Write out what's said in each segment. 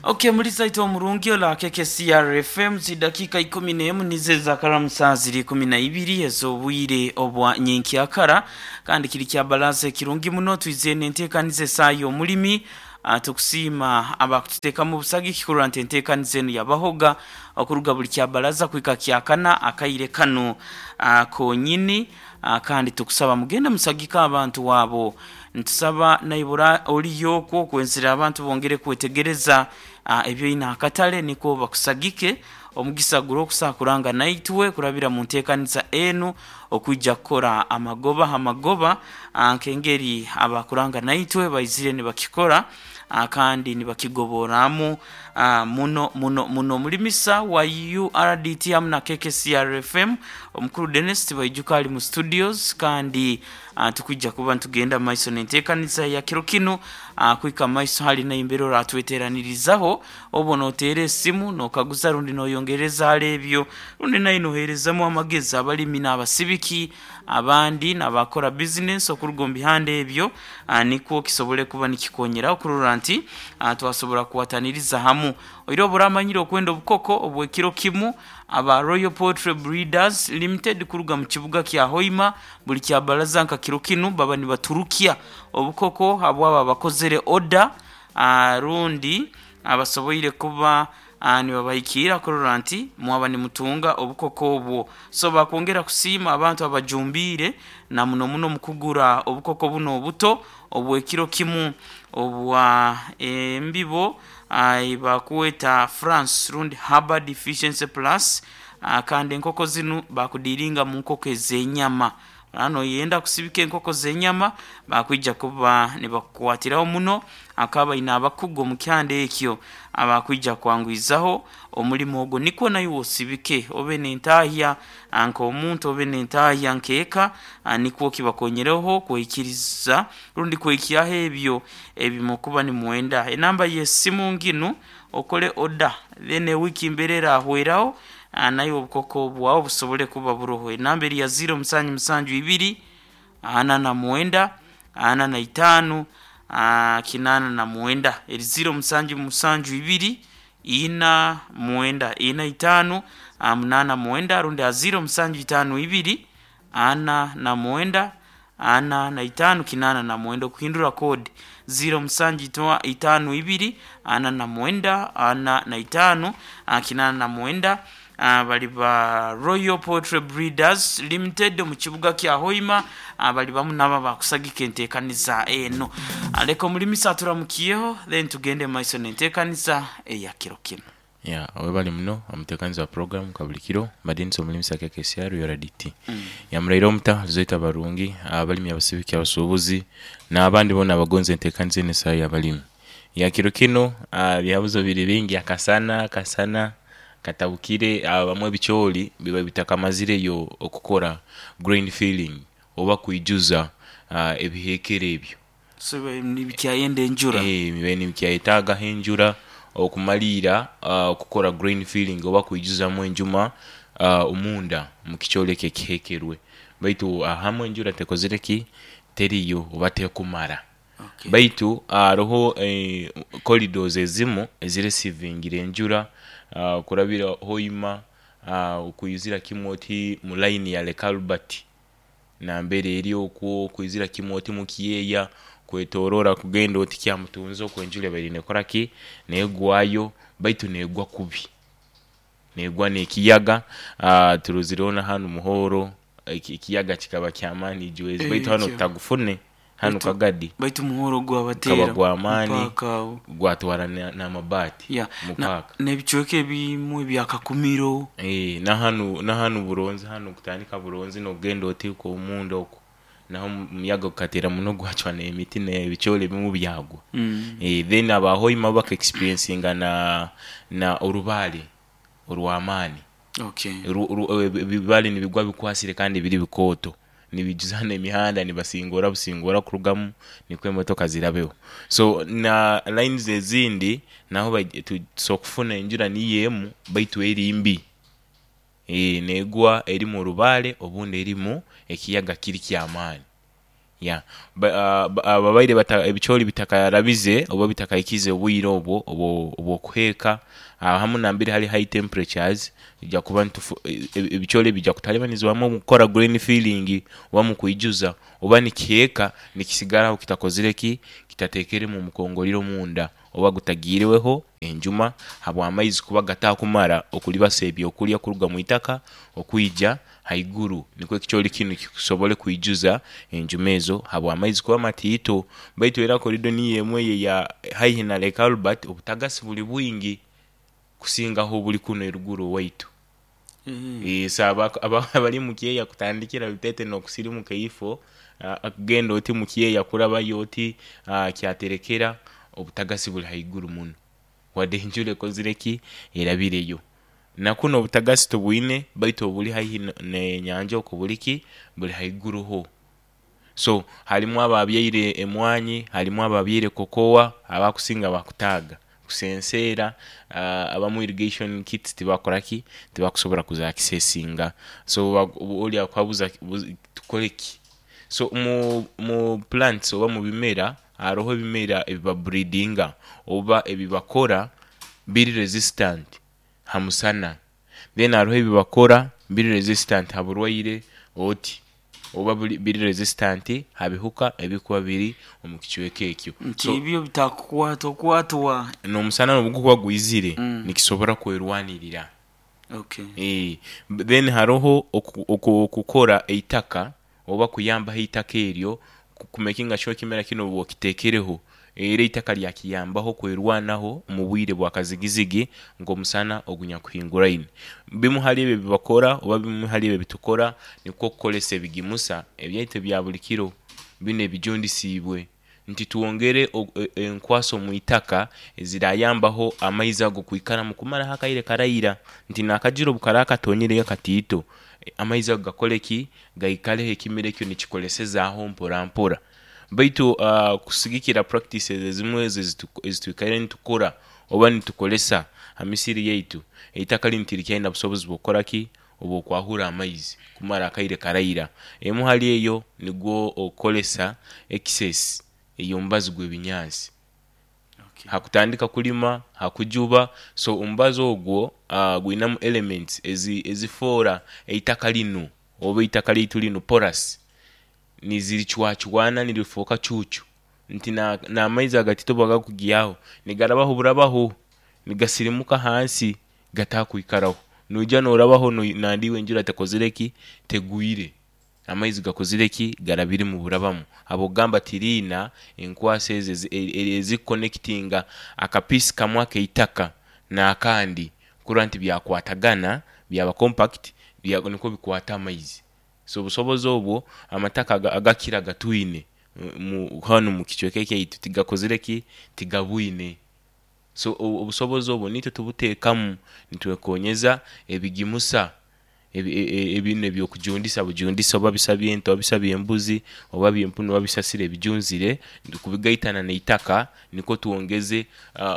Okay, mulisaito omurungi ola KKCR FM zidakika 11 nizo ezakaramu saa ziri 12 ez'obwire obwa nyenkyakara kandi kiri kya balaza ekirungi muno twize n'enteekaniza esaaha y'omulimi. Tukusiima abakututeekamu obusagiki kurora nti enteekaniza enu yabahoga okuruga buli kyabalaza kuhika kyakana akaire kanu konyini. Kandi tukusaba mugende musagike abantu abo. Nitusaba naibura oriyo okwo okwenzire abantu bongere kwetegereza ebyoine akatale nikwo bakusagike. Omugisa guri okusa kuranga naitwe kurabira mu nteekaniza enu okwija kukora amagoba ha magoba nk'engeri abakuranga naitwe baizire nibakikora kandi nibakigoborramu muno muno muno. Omulimisa wa URDT hamu na KKCR FM omukuru Denis Tibaijuka ali mu studios kandi tukwija kuba nitugenda mu maiso n'enteekaniza ya kiro kinu kuhika mu maiso hali naimbere oratweteranirizaho obu noteera esimu nokaguza rundi noyongereza hali ebyo rundi naye noheerezamu amagezi abalimi n'abasibiki abandi n'abakora bizinesi okuruga omu bihanda ebyo nikwo kisobole kuba nikikonyeraho kurora nti twasobora kukwataniriza hamu. Oire obu oramanyire okwenda obukoko obw'ekiro kimu, aba Royal Poultry Breeders Limited kuruga mu kibuga kya Hoima buli kyabaraza nka kiro kinu baba nibaturukya obukoko habwabo abakozere oda rundi abasoboire kuba nibabahikiira kurora nti mwaba nimutunga obukoko obwo. So bakwongera kusiima abantu abajumbiire na muno muno omu kugura obukoko bunu obuto obw'ekiro kimu obwa embibo eibakweta France rundi Herbal Deficiency Plus kandi enkoko zinu bakudiiringa mu nkoko ez'enyama. Oraba noyenda kusibika enkoko z'enyama bakwija kuba nibakukwatiraho muno akaba baine abakugu omu kihanda ekyo abakwija kwangwizaho omulimo ogwo nikwo naiwe osibike obe n'entahya nk'omuntu obe n'entahya nk'eka nikwo kibakonyereho kwikiriza rundi kwikyaho ebyo ebimukuba nimwenda. Enamba y'esimu nginu okole oda then ewiiki mbere erahweraho naiwe obukoko bwawe busobole kuba buroho. Enamba eri ya ziiro musanju musanju ibiri, ana na mwenda, ana na itaanu, kinaana na mwenda. Eri ziiro musanju musanju ibiri, ina mwenda, ina itaanu, munaana mwenda rundi ha ziiro musanju itaanu ibiri, ana na mwenda, ana na itaanu, kinaana na mwenda. Okuhindura koodi ziiro musanju itaanu ibiri, ana na mwenda, ana na itaanu, kinaana na mwenda. Bali ba Royal Poultry Breeders Limited omu kibuga kya Hoima bali bamu n'abo abakusagika enteekaniza eno. Leka omulimisa aturamukyeho then tugende mu maiso n'enteekaniza eya kiro kinu. Yeah, webale muno omutekanizi wa program kabulikiro Madinisa omulimisa KKCR URDT. Yamuraire omuta Zoita Barungi, abalimi abasibiki abasubuzi nabandi bona abagonza entekaniza eno esaha yabalimi. Yeah, kiro kino ebyabuzo biri bingi akasana akasana katabukire abamwe ebikyoli biba bitakamazireyo okukora grain filling oba kwijuza ebihekero ebyo. So bibaire nibikyayenda enjura? Eeh bibaire nibikyayetagaho enjura okumaliira okukora grain filling oba kwijuzamu enjuma omunda omu kikyoli ekyo ekihekerwe. Baitu ahamu enjura tekozire ki? Teriyo oba tekumara. Okay. Baitu haroho corridors ezimu eziresivingire enjura kurabira Hoima okwizira kimu oti mu line ya Lake Albert nambere eri okwo okwizira kimu oti mu Kyeya kwetorora kugenda oti Kyamutunzi okwo enjura ebaire nekora ki? Negwayo baitu negwa kubi. Negwa n'ekiyaga turozireho na hanu Muhoro ekiyaga kikaba ky'amaani ijwezi baitu hanu tutagufune hanu Kagadi Baitu Muhoro gukaba gwabateera gw'amaani mupaaka agho. gwatwara n'amabaati Ya, mu na paaka. n'ebicweka ebimwe ebya Kakumiro. Na hanu Buronzi hanu kutandika Buronzi n'okugenda oti omunda okwo naho omuyaga gukateera muno gwacwa n'emiti n'ebicoori ebimu byagwa. Then aba Hoima bo baka experiencinga na orubaare orw'amaani. Okay. Ebibaare nibigwa bikwasire kandi biri bikooto nibiijuza n'emihanda nibasingora busingora kurugamu nikwo emotoka zirabeho. So na lines ezindi naho tusobola kufuna enjura niyo emu baitu eri mbi. Negwa erimu orubaare obundi erimu ekiyaga kiri ky'amaani. Yeah. Babaire ebicoori bitakarabize oba bitakahikize obwire obwo obw'okuheeka, hamu nambere hali high temperatures, tujja kuba ebicoori ebi bijja kutalibanizibwamu omu kukora green filling oba mu kwijuza oba nikiheeka nikisigaraho kitakozire ki? Kitateekeremu omukongoriro omunda oba gutagiireho enjuma habw'amaizi kuba gatakumara okulibasa ebyokulya okuruga mwitaka okwija haiguru nikwo ekicoori kinu kisobole kwijuza enjuma ezo habw'amaizi kuba matiito. Baitu era korido niyo emwe eyo eya haihi na Lake Albert obutagasi buli bwingi kusingaho obuli kunu eruguru owaitu. So abali mu kyeya kutandikira Luteete n'okusirimuka eifo kugenda oti mu kyeya kurabayo oti Kyaterekera, obutagasi buli haiguru muno wadde enjura ekozire ki? Erabireyo. Na kunu obutagasi tubwine baitu obuli haihi n'enyanja okwo buli ki? Buli haiguru ho. So halimu ababyaire emwanyi, halimu ababyaire kokowa, abakusinga bakutaaga kusenseera, abamu irrigation kits tibakora ki? Tibakusobola kuzakisesinga. So oli akukaguza tukole ki? So mu plants oba mu bimera haroho ebimera ebibabreedinga oba ebibakora biri resistant ha musana, then haroho ebibakora biri resistant ha burwaire oti oba biri resistant ha bihuka ebikuba biri omu kicweka ekyo. Nti So ebyo bitakukwatwa kwatwa. N'omusana obugukuba gwizire nikisobora kwerwanirira. Okay. Then haroho okukora eitaka oba kuyambaho eitaka eryo kumekinga sure ekimera kinu obu okitekereho era eitaka lyakiyambaho kwerwanaho omu bwire bwa kazigizigi nk'omusana ogunyakuhinguraine. Bimu hali ebyo ebibakora oba bimu hali ebyo ebitukora nikwo okukozesa ebigimusa ebyaitu ebya buli kiro binu ebijundisiibwe nti twongere enkwaso omu itaka ezirayambaho amaizi ago kwikaramu kumaraho akaire karaira nti n'akajura obukaraba katonyireyo katiito, amaizi ago gakole ki? Gaikareho ekimera ekyo nikikolesezaaho mpora mpora. Baitu kusigikira practices ezimu ezo ezitwikaire nitukora oba nitukolesa ha misiri yaitu, eitaka linu tirikyaine busobozi bw'okukora ki? Obw'okwahura amaizi kumara akaire karaira. Emu hali eyo nigwo okukolesa excess ey'omubazi gw'ebinyansi ha kutandika kulima, ha kujuba. So omubazi ogwo gwinamu elements ezifoora eitaka linu oba eitaka lyaitu linu porous, niziricwacwana nirifuuka cuucu nti n'amaizi agatito bwegakugyaho nigarabaho burabaho nigasirimuka hansi gatakwikaraho. Noija norabaho nandi iwe enjura tekozire ki? Tegwire. Amaizi gakozire ki? Garabiremu burabamu. Habw'okugamba tiriina enkwaso ezo ezikukonekitinga akapiisi kamwe ak'eitaka n'akandi kurora nti byakwatagana byaba compact nikwo bikwata amaizi. So obusobozi obwo amataka agakira gatwine hanu omu kicweka kyaitu tigakozire ki? Tigabwine. So obusobozi obwo niitwe tubuteekamu nitwekonyeza ebigimusa binu eby'okujundisa bujundisa oba bisa by'ente oba bisa by'embuzi oba by'empunu oba bisasiro ebijunzire kubigaitana n'eitaka nikwo twongeze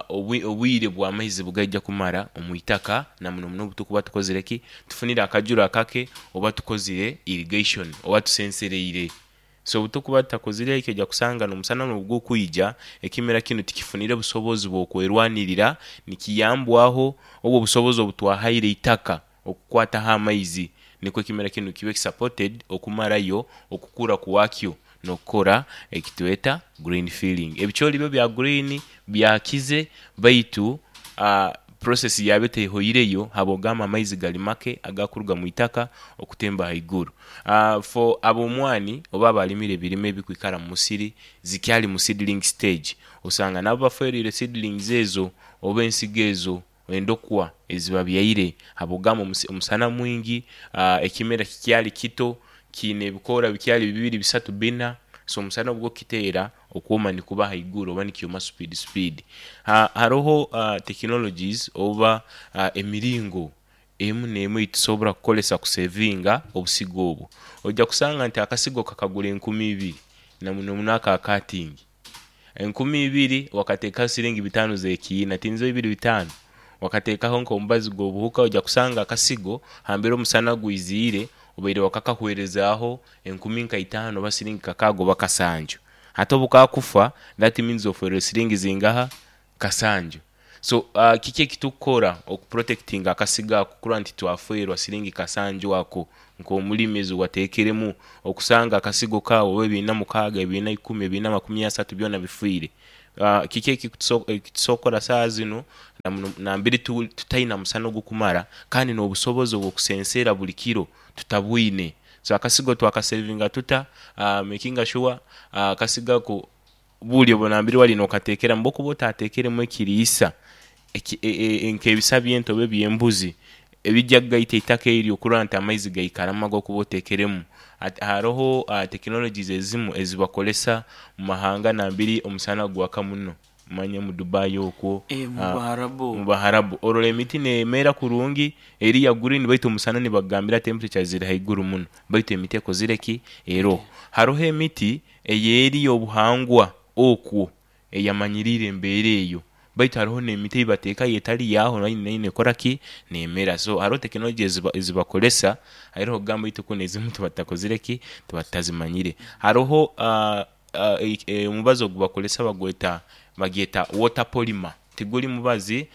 obwire bw'amaizi bugaija kumara omu itaka na muno muno obutukuba tukozire ki? Tufunire akajura akake oba tukozire irrigation oba tusensereire. So obutukuba tutakozire ekyo oja kusanga n'omusana n'obugukwija ekimera kinu tikifunire busobozi bw'okwerwanirira nikiyambwaho obwo obusobozi obutwahaire eitaka okukwataho amaizi nikwo ekimera kinu kibe supported okumarayo okukura kwakyo n'okukora ekitweta green filling. Ebicoori byo bya green byakize baitu process yabyo tehoireyo habw'okugamba amaizi gali make agakuruga mwitaka okutemba haiguru. For ab'omwani oba abalimire ebirime ebikwikara mu musiri zikyali mu seedling stage, osanga nabo baferire seedlings ezo oba ensigo ezo endokwa ezibabyaire habw'okugamba omusana mwingi, ekimera kikyali kito, kiine ebikoora bikyali bibiri, bisatu, bina, so omusana obugukiteera okwoma nikuba haiguru oba nikyoma supiidi supiidi. Haroho technologies oba emiringo emu n'emu eitusobora kukozesa kusevinga obusigo obwo. Oija kusanga nti akasigo kakagura enkumi ibiri na muno muno ako akatingi. Enkumi ibiri wakateekaho siringi bitaano z'ekiina, tinzo ibiri bitaano, wakateekaho nk'omubazi gw'obuhuka oija kusanga akasigo hambere omusana gwiziire. Obaire wakakahwerezaaho enkumi nka itaano oba siringi kakaaga oba kasanju. Hati obu kakufa, that means ofeerwe siringi zingaha? Kasanju. So kiki ekitukukora okuprotectinga akasigo ako kurora nti twafeerwa siringi kasanju ako nk'omulimi ezi wateekeremu okusanga akasigo kaawe oba ebiina mukaaga, ebiina ikumi, ebiina makumi asatu byona bifiire. Kiki ekituso kukora saaha zinu nambere tutaina musana ogukumara kandi n'obusobozi obw'okusenseera buli kiro tutabwine. So akasigo twakasevinga tuta? Makinga sure akasigo ako buli obu nambere wali n'okateekeramu obu okuba otateekeremu ekiriisa nk'ebisa by'ente oba eby'embuzi ebijja kugaita eitaka eryo kurora nti amaizi gaikaramu agokuba oteekeremu. Haroho tekinologies ezimu ezibakolesa omu mahanga nambere omusana gwaka muno manya omu Dubai okwo, Mu Baharabu. Omu Baharabu orora emiti neemera kurungi eri ya green baitu omusana nibakugambira temperature ziri haiguru muno baitu emiti ekozire ki? Eroho. Haroho emiti ey'eri y'obuhangwa okwo eyamanyiriire embeera eyo baitu haroho n'emiti eibateekayo etali yaaho nayo neekora ki? Neemera. So haroho tekinology ezibakolesa hairoho okugamba itwe kunu ezimu tuba tutakozire ki? Tuba tutazimanyire. Haroho omubazi ogubakolesa bagweta bagyeta water polymer, tiguli mubazi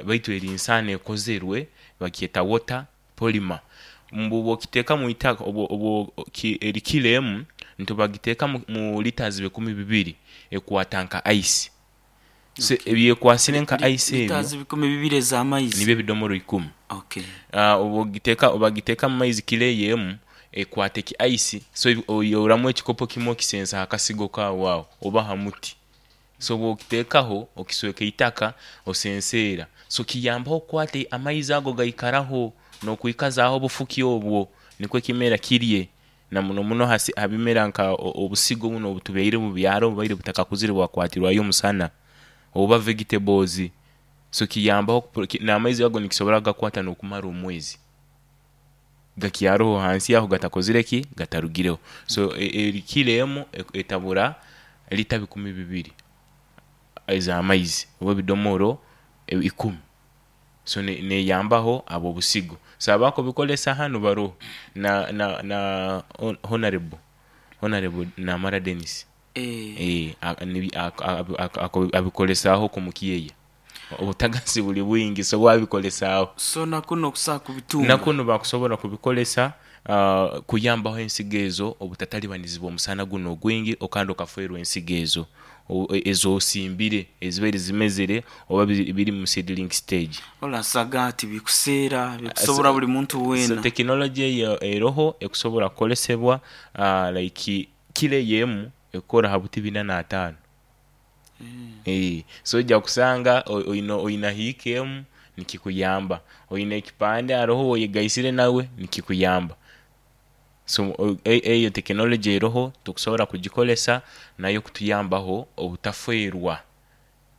baitu eri nsaano ekozerwe bagyeta water polymer. Mbu bw'okiteeka mwitaka eri kilo emu nti bagiteeka mu litres bikumi bibiri ekwata nka ice. So ebyekwasire nka ice ebyo Litres 2000 ez'amaizi. Nibyo ebidomoro ikumi. Okay. Obwogiteeka bagiteeka mu maizi kilo eyo emu ekwata eki ice so oihuramu ekikopo kimwe okisensa ha kasigo kaawe aho oba ha muti. So bwokiteekaho okisweka eitaka osenseera. So kiyambaho okukwata amaizi ago gaikaraho n'okwikazaaho obufuki obwo nikwo ekimera kirye na muno muno ha bimera nka obusigo bunu obutubaire omu byaro obubaire butakakuzire bwakwatirwayo omusana oba vegetables. So kiyambaho n'amaizi ago nikisobora kugakwata n'okumara omwezi gakyaroho hansi aho gatakozire ki? Gatarugireho. So eri kilo emu etabura lita 2000 ez'amaizi oba ebidomoro ikumi. So neyambaho ab'obusigo. So abakubikolesa hanu baroho na Honorable Honorable Namara Denis abikolesaaho oku mu kyeya. Obutagasi buli bwingi so we abikolesaaho. So na kunu okusobola kubitunga? Na kunu bakusobola kubikolesa kuyambaho ensigo ezo obutatalibanizibwa omusana gunu ogwingi kandi okafeerwa ensigo ezo ez'osimbire ezibaire zimezere oba biri mu seedling stage. Olasaga tibikuseera, bikusobola buli muntu So weena. tekinology eyo eroho ekusobola kukolesebwa like kilo eyo emu ekukora ha buti bina n'ataano. So oija kusanga oina hiika emu nikikuyamba, oina ekipande haroho woyegaisire nawe nikikuyamba. So eyo tekinology eroho tukusobola kugikolesa nayo kutuyambaho obutafeerwa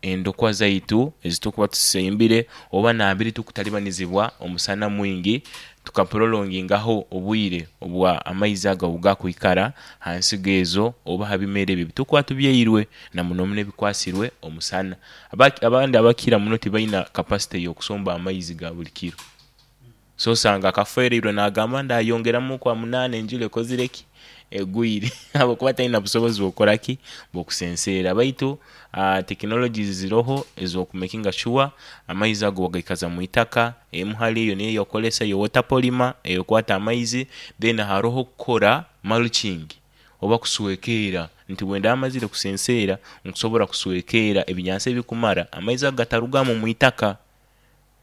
endokwa zaitu ezitukuba tusimbire oba nambere tukutalibanizibwa omusana mwingi tukaprolongingaho obwire obwa amaizi ago obugakwikara ha nsigo ezo oba ha bimera ebyo ebitukuba tubyairwe na muno muno ebikwasirwe omusana. Abandi abakira muno tibaina capacity y'okusomba amaizi ga buli kiro. So osanga akafeereirwe naagamba ndayongeramu kwa munaana enjura ekozire ki? Egwire habwokuba talina busobozi bw'okukora ki? Bw'okusenseera. Baitu tekinologies ziroho ez'okumakinga sure amaizi ago wagaikaza mwitaka, emu hali eyo niyo ey'okukolesa eyo water polymer ekwata amaizi, then haroho okukora mulching oba kuswekeera nti bwendaba mazire kusenseera nkusobora kuswekeera ebinyansi ebikumara amaizi ago gatarugamu mwitaka.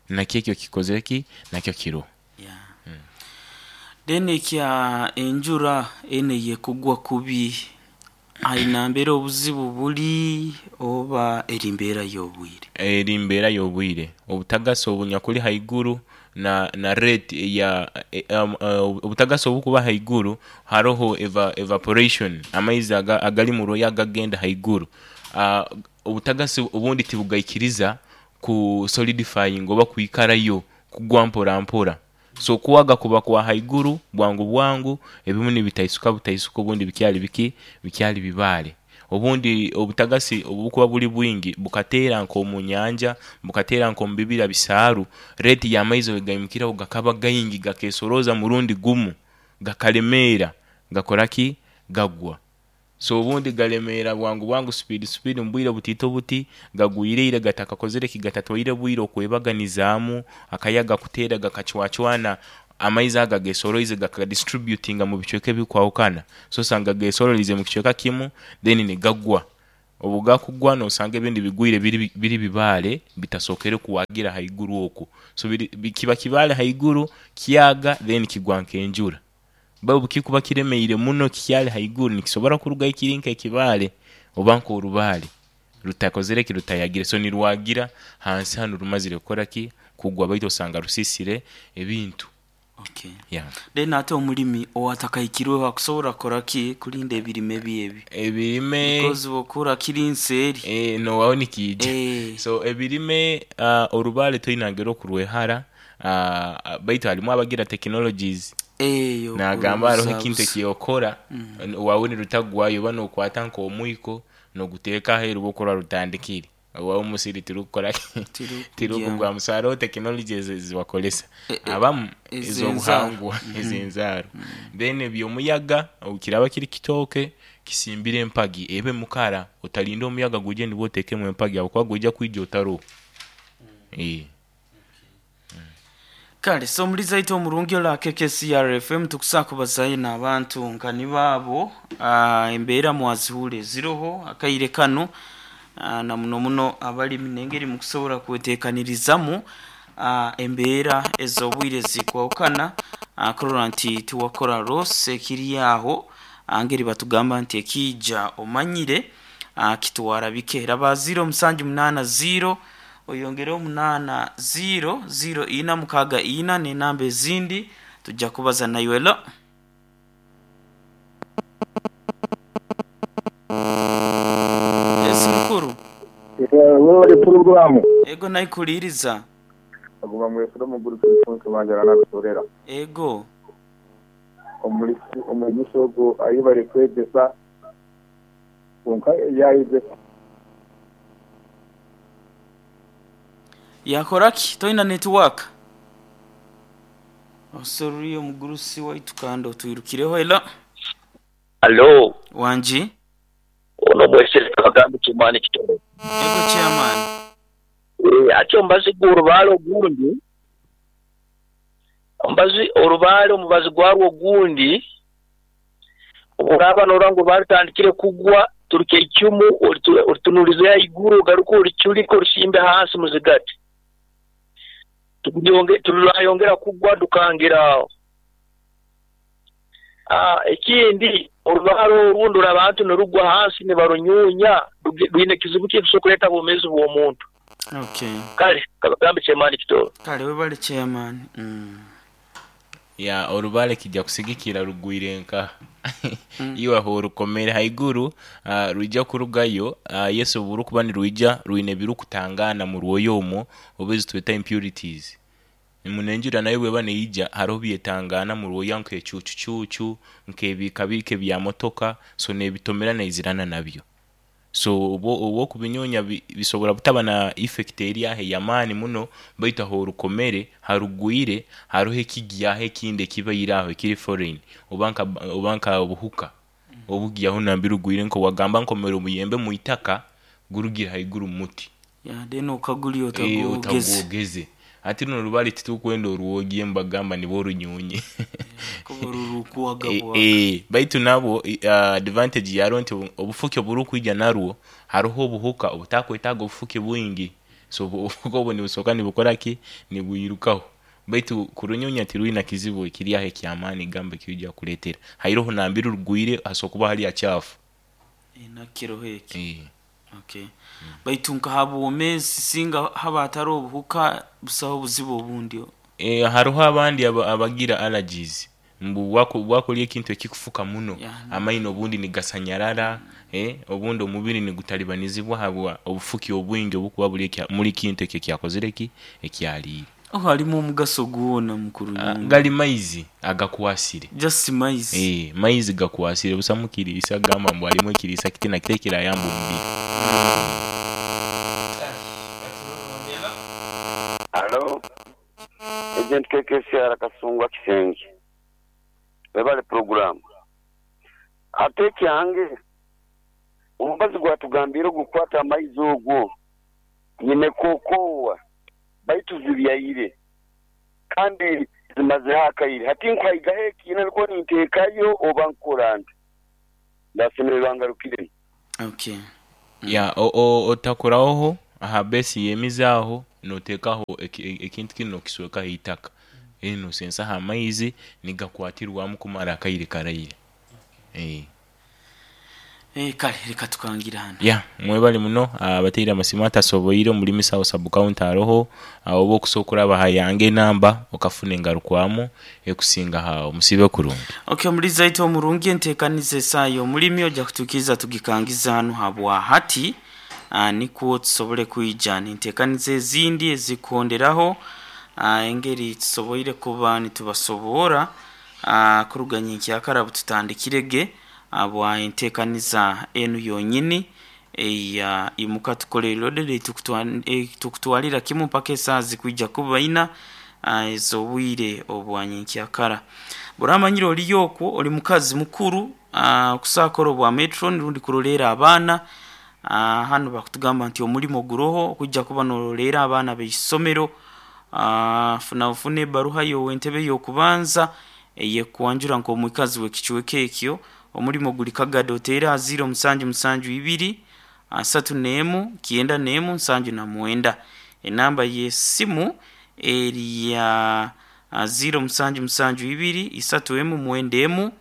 Nakyo ekyo kikozire ki? Nakyo kiroho. Yeah. Then ekya enjura enu eyekugwa kubi aye nambere obuzibu buli oba eri mbeera y'obwire? Eri mbeera y'obwire. Obutagasi obunyakuli haiguru na rate eya obutagasi obukuba haiguru haroho evaporation amaizi agali mu rwoya agagenda haiguru. Obutagasi obundi tibugaikiriza ku solidifyinga oba kwikarayo kugwa mpora mpora. So okuwaga kuba kwa haiguru bwangu bwangu ebimu nibitaisuka butaisuka obundi bikyali biki? Bikyali bibaale. Obundi obutagasi obukuba buli bwingi bukateera nk'omu nyanja, bukateera nk'omu bibira bisaaru, rate y'amaizi bwegaimukiraho gakaba gaingi gakesorooza murundi gumu. Gakalemera gakora ki? Gagwa. So obundi galemera bwangu bwangu, speed speed, mu bwire butiito buti gagwireire, gatakakozere ki, gatatwaire bwire okwebaganizaamu. Akayaga kuteera gakacwacwana amaizi aga gesoroize, gakadistributinga mu bicweka ebikwahukana. So osanga gesorolize mu kicweka kimu, then nigagwa. Obu gakugwa nosanga ebindi bigwire biri bibaale bitasokere kuwagira haiguru okwo. So kiba kibaale haiguru kyaga, then kigwa nk'enjura. Obu kikuba kiremeire muno kikyali haiguru, nikisobora kurugayo kiri nk'ekibaale oba nk'orubaale rutakozere ki, rutayagire. So nirwagira hansi hanu rumazire kukora ki? Kugwa, baitu osanga rusisire ebintu. Okay. Yeah. Then ate omulimi owatakahikirweho akusobora kukora ki kulinda ebirime bye ebi? Ebirime. Because bwokura kiri nseeri. Nowaho nikiija. So ebirime, orubaale toine ngeri okurwehara, baitu harimu abagira technologies. Nagamba hariho ekintu Eyokurubuzabuza. Ekyokora wawe nirutagwayo, oba nokwata nk'omwiko noguteeka aheeru bwokurora rutandikire owawe omusiri tirukukora ki? Tirukugwamu. So hariho technologies ezibakoresa abamu Ez'enzaaro. Ez'obuhangwa, ez'enzaaro. Then ebyomuyaga, kiraba kiri kitooke, kisimbire empagi ebe mukara, otalinda omuyaga gwije nibwo otekemu empagi habwokuba gwija kwija otaroho. Kale so omulizi aitu omurungi ola KKCR FM, tukusa kubazayo n'abantu nka nibaabo. Embeera mwazihuura eziroho akaire kanu, na muno muno abalimi n'engeri mukusobora kwetekanirizamu embeera ez'obwire zikwahukana, kurora nti tiwakora loss ekiri aho. Ngeri batugamba nti ekiija omanyire, kitwara bike. Raba 0780 oyongereho 80 04 64 n'enamba ezindi tujja kubaza naiwe. Lo esi mukuru. Webale puroguramu. Ego, naikuliiriza. Aguma mwesire omuguru Alfonso Wanjala narusorera. Ego. Omulisi ogwo ayebare kwegyesa, kwonka yayegyesa. Yakora ki? Toina network osoruriyo omugurusi waitu kandi otwirukireho ela. Alo, wangi. Ono mwesere Kabagambe Kimani Kitoro. Ego, chairman. Ati omubazi gw'orubaale ogundi, omubazi orubaale omubazi gwarwo ogundi, obworaaba norora ngu orubaale rutandikire kugwa, turuka eicumu oritunulize haiguru, ogaruke oriculike orisimbe hansi muzigati. Turayongera kugwa dukangira aho. Ekindi orubaale orundi abantu nirugwa hansi nibarunyunya, rwine kizibu ki ekisobora kuleeta obwomeezi bw'omuntu. Okay. Kale Kabagambe Chairman Kitoro. Kale webale chairman. Ya, orubaale kijja kusigikira rugwire nka iwe aho orukomere haiguru, rwija kurugayo. Yesu oburukuba nirwija rwine ebirukutangana mu rwoya omwo, oba ezi tweta impurities. Munenjura nayo bweba neija hariho byetangana mu rwoya nk'ecucucucu, nk'ebikabiika ebya motoka, so nebitomera neizirana nabyo. So obu okubinyunya bisobora butaba na effect eri aho ey'amaani muno, baitu aho orukomere harugwire hariho ekigyaho ekindi ekibaire aho ekiri foreign, oba nka obuhuka obugyaho nambere rugwire, nka wagamba nkomere omuyembe mu itaka gurugire haiguru mu muti. Ya, then okagulya otagwogeze. Otagwogeze. Ati runo rubale titukwenda orwogye, mbagamba nibo orunyunye. Kuba rurukuwagabwaga. Baitu nabwo advantage yarwo nti obufuki oburukwija narwo hariho obuhuka obutakwetaaga obufuki bwingi. So obuhuka obwo nibusoka nibukora ki? Nibwirukaho. Baitu kurunyunya tirwina kizibu ekiri aho ekyamaani gamba ekiija kukuleetera. Hairoho nambere rugwire hasobora kuba hali hachafu. Nakiroho eki. Okay. Baitu nka habwomeezi singa haba hatari obuhuka busaho obuzibu obundi. Hariho abandi abagira allergies mbu wakurya ekintu ekikufuka muno, amaino obundi nigasanyarara, obundi omubiri nigutalibanizibwa habwa obufuki obwingi obukuba buri muri kintu ekyo ekyakozire ki? Ekyaliire. Oh, halimu omugaso gwona mukuru nyumba. Gali maizi agakwasire. Just maizi. Maizi gakwasire busamu kiriisa gamba mbu harimu ekiriisa kiti na kiti ekirayamba omubiri. Halo, Agent KKCR Kasungwa Kisenge. Webale puroguraamu. Hati ekyange, omubazi gwatugambiire ogukukwata amaizi ogwo, nyine kookoowa baitu zibyaire kandi zimazeho akaire. Hati nkuhaigaho ekiina nikwo ninteekayo oba nkukora nta? Ndasemererwa ngarukiremu. Okay. Ya, otakurahoho aha base y'emizi aho noteekaho ekintu kinu nokiswekaho eitaka then nosensaho amaizi nigakwatirwamu kumara akaire karaire. Eh, kale leka tukangire hanu. Ya, mwebale muno abateire amasimu atasoboire omuri Misawo Sub County aroho oba okusobola okuraba aha yange enamba okafuna engarukwamu ekusinga aho. Musiibe kurungi. Ok omulizi waitu omurungi entekaniza esaaha yomulimi oja kutuikiriza tugikangize hanu habwa hati nikwo tusobole kwija nentekaniza ezindi ezikuhonderaho engeri tusoboire kuba nitubasoboora kuruga nyenkyakara bututandikire ge habwa entekaniza enu yonyini eya Imuka Tukole Reloaded eitukutwalira kimu mpaka esaaha zikwija kuba ina ez'obwire obwa nyenkyakara. Bw'oramanyire oliyo okwo oli mukazi mukuru okusobola kukora obwa metron rundi kuroleera abaana, hanu bakutugamba nti omulimo guroho okwija kuba n'oroleera abaana b'eisomero, funa ofune ebaruha y'ow'entebe y'okubanza eyekukwanjura nk'omwikazi w'ekicweka ekyo. Omulimo guli Kagado oteere aha ziiro musanju musanju ibiri asatu n'emu kyenda n'emu nsanju na mwenda. Enamba y'esimu eri ya ziiro musanju musanju ibiri isatu emu mwenda emu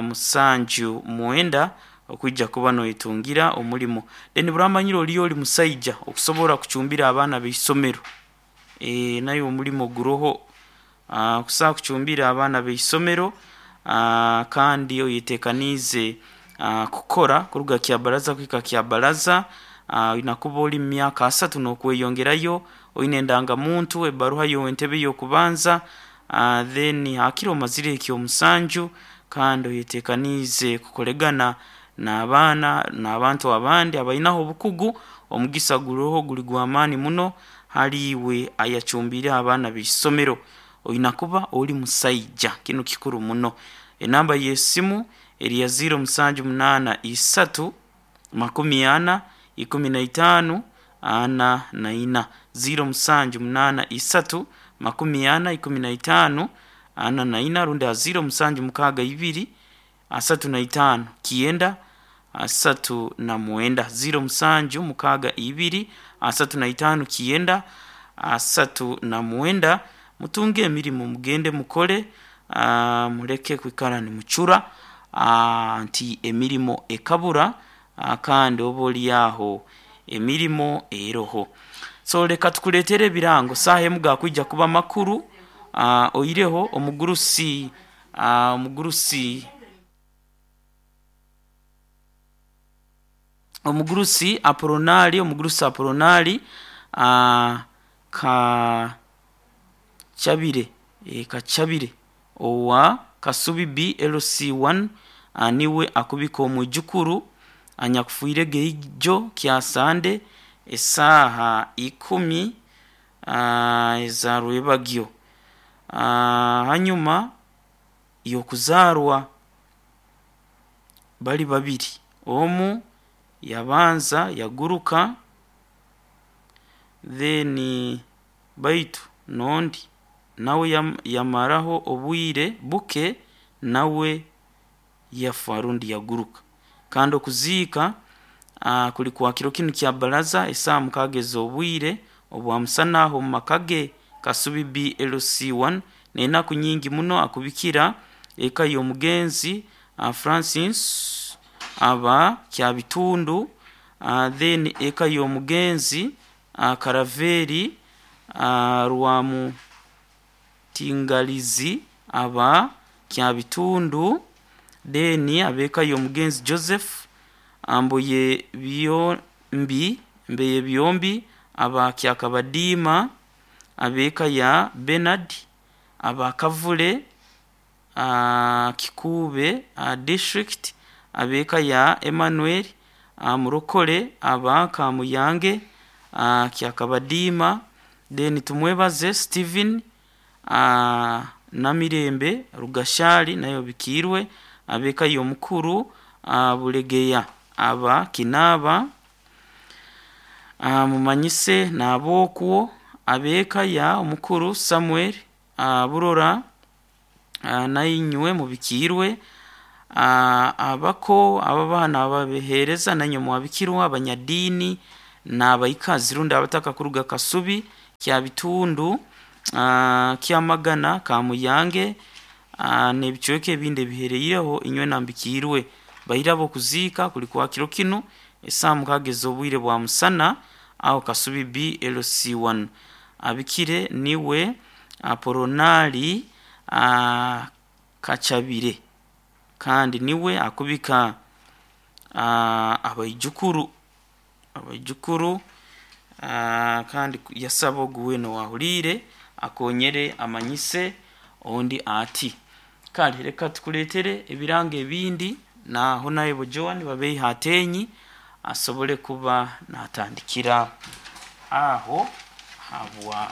musanju mwenda okwija kuba noyetungira omulimo. Then bw'oramanyire oriyo ori musaija okusobora kucumbira abaana b'eisomero, nayo omulimo guroho okusobola kucumbira abaana b'eisomero kandi oyetekaniize kukora kuruga kyabaraza kuhika kyabaraza, oina kuba ori mu myaka asatu n'okweyongerayo, oine endangamuntu, ebaruha y'ow'entebe y'okubanza, then hakire omazire ekyomusanju kandi oyetekaniize kukoregana n'abaana n'abantu abandi abainaho obukugu, omugisa guroho guri gw'amaani muno hali iwe ayacumbiireho abaana b'eisomero. Oina kuba ori musaija, kinu kikuru muno. Enamba y'esimu eri ya ziiro musanju munaana isatu makumi ana ikumi na itaanu ana na ina, ziiro musanju munaana isatu makumi ana ikumi na itaanu ana na ina rundi aha ziiro musanju mukaaga ibiri asatu na itaanu kyenda asatu na mwenda, ziiro musanju mukaaga ibiri asatu na itaanu kyenda asatu na mwenda. Mutunge emirimo mugende mukore, muleke kwikara nimucura nti emirimo ekabura kandi oba ori aho emirimo eroho. So leka tukuleetere ebirango, saaha emu gakwija kuba makuru oireho omugurusi omugurusi omugurusi Aporonari omugurusi Aporonari Kachabire Kachabire owa Kasubi BLC1 niwe akubika omwijukuru anyakufiirege ijo kya Sande esaaha ikumi eza rwebagyo hanyuma y'okuzaarwa bali babiri, omu yabanza yaguruka then baitu n'ondi nawe yamaraho obwire buke nawe yafa rundi yaguruka. Kandi okuziika kuli kwa kiro kinu kya baraza esaaha mukaaga ez'obwire obwa musana aho omu maka ge Kasubi BLC1 n'enaku nyingi muno akubikira eka y'omugenzi Francis aba Kyabitundu then eka y'omugenzi Karaveri Rwamutingalizi aba Kyabitundu then ab'eka y'omugenzi Joseph Mboye Byombi Mbeye Byombi aba Kyakabadiima ab'eka ya Bernard aba Kavule Kikuube district ab'eka ya Emmanuel Murokore aba Kamuyange Kyakabadiima then Tumwebaze Stephen. Namirembe Rugashali nayo bikirwe abeka y'omukuru Bulegeya aba Kinaba mumanyise n'abokwo abeka ya omukuru Samuel Burora nainywe mubikirwe abako ababana ababehereza nanywe mwabikirwa abanyadini n'abaikazi rundi abataka kuruga Kasubi kya Bitundu Kyamagana Kamuyange n'ebicweka ebindi ebihereireho inywe nambikirwe bairabo kuziika kuli kwa kiro kinu esaa mukaaga ez'obwire bwa musana aho Kasubi BLC1 abikire niwe Aporonali Kachabire kandi niwe akubika abaijukuru kandi yasaba ogu wena owahuriire akonyere amanyise ondi ati kale reka tukuleetere ebirango ebindi naho naye Joan babeiha atenyi asobole kuba natandikira aho habwa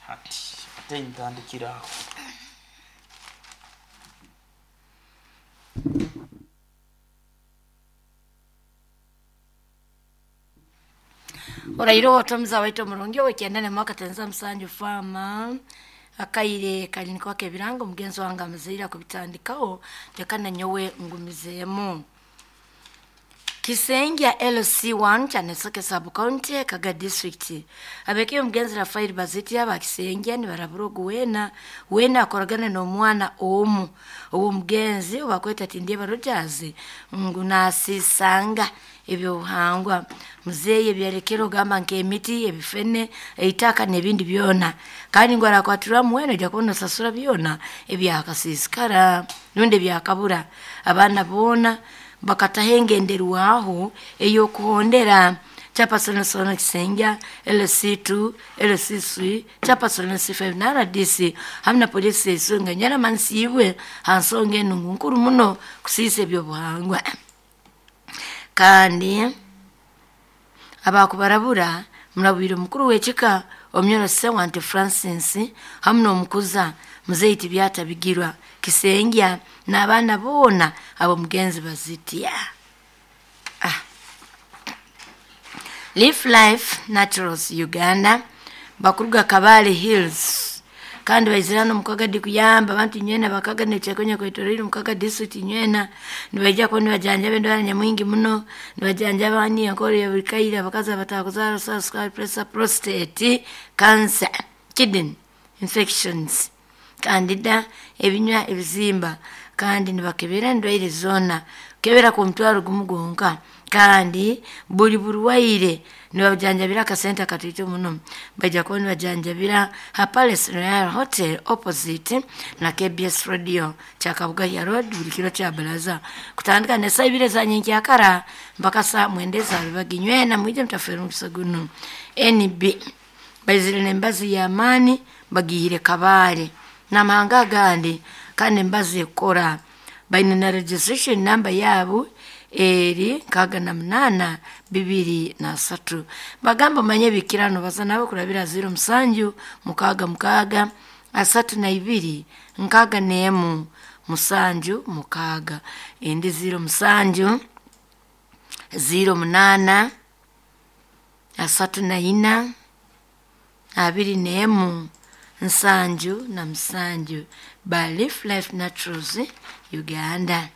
hati atenyi tandikira aho. Orairo otomuza waitu omurungi owekyenda mwaka tenza musanju fama akaire kali kwake ebirango mugenzi wange amuzaire akubitandikaho leka nanyowe ngumizeemu. Kisengya LC1 kyanesoke sub county Kaga district abekeye omugenzi Rafael Baziti aba Kisengya nibarabura ogu wena wena akoragana n'omwana omu ow'omugenzi obakweta Tindyeba Rogers ngu nasisanga ebyobuhangwa muzeeyi ebyarekere ogamba nk'emiti ebifene eitaka n'ebindi byona kandi ngu arakwatirwamu wena ojja kubona osasura byona ebyakasiisikara rundi ebyakabura. Abaana boona bakataho engenderwaho ey'okuhondera chapasonosono Kisengya LC2 LC3 chapasono C5 na RDC hamwe na polisi esonga nyaramansiibwe ha nsonga enungu nkuru muno kusiisa ebyobuhangwa. Kandi abakubarabura murabwire omukuru w'ekika omuyoro Sewante Francis hamwe n'omukuza muzeeyi Tibyatabigirwa Kisengya n'abaana boona ab'omugenzi Bazitya. Leaf Life Naturals Uganda bakuruga Kabale Hills kandi baizirana omukaga dikuyamba abantu nywena bakaga nechekonya kwetorire omukaga district nywena nibaija kuba nibajanjaba endwara nyamwingi muno nibajanjaba ani enkoro ya buli kaire abakazi abatakuzara sukari pressure prostate cancer kidney infections candida ebinywa ebizimba kandi nibakebera endwaire zoona kebera ku mutwaro gumu gwonka kandi buli burwaire nibajanjabira akasente akatito muno. Baija kuba nibajanjabira ha Palace Royal Hotel opposite na KBS Radio Kyakabugahya Road buli kiro kya baraza kutandika ne saa ibiri za nyenkyakara mpaka saa mwenda eza rubagi nywena mwije mutafere omukisa guno. NB baizire n'embazi y'amaani bagihire Kabale n'amahanga agandi kandi embazi ekora baine na registration number yaabo eri 68 23. Bagamba manye bikirano baza nabo kurabira 07 6 6 32 61 7 6 endi 07 08 34 21 77 by Leaf Life Naturals Uganda.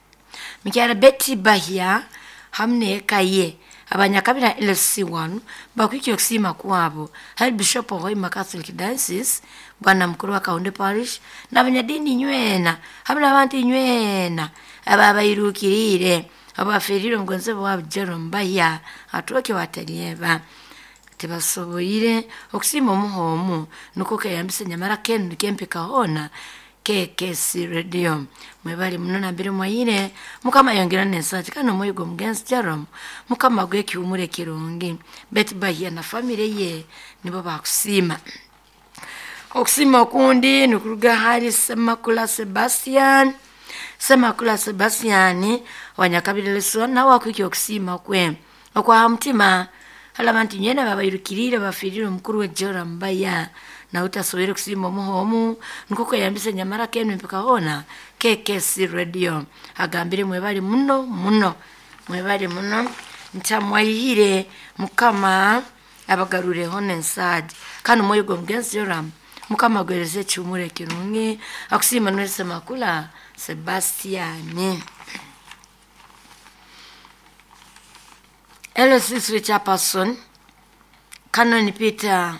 Mikyara Betty Bahia hamwe n'eka ye abanyakabira LC1 bakwikiye okusiima kwabo hari Bishop Hoima Catholic Diocese bwana mukuru wa Kaunde Parish n'abanyadini nywena hamwe n'abantu nywena ababairukirire abaferire omugonzi wabo Jerome Bahia atoke watalieba tibasoboire okusiima omuhomu nuko keyambisa nyamara kenu kempika hona KKC Radio mwebali muno nambere mwayire mukama yongera nensati kano omwoyo gw'omugenzi Jerome mukama gw'ekiwumuro ekirungi Betty Bahia na famire ye nibo bakusiima. Okusiima okundi nikuruga hari Semakula Sebastian Semakula Sebastian wanyakabirire so nawe akwikiye okusiima kwe okwa mutima Hali abantu nyena babairukiriire bafiirire omukuru we Joram Baya nawe utasobere kusiima omuha omu nukwo kweyambisa nyamara kenu mpaka hoona KKC Radio agambire mwebali muno muno, mwebali muno ntamwaihire mukama abagarureho nensaadi kandi omwoyo gw'omugenzi Joram mukama agwereze ekihumuro ekirungi. Akusiima Noel Semakula Sebastiani. LC chairperson Canon Peter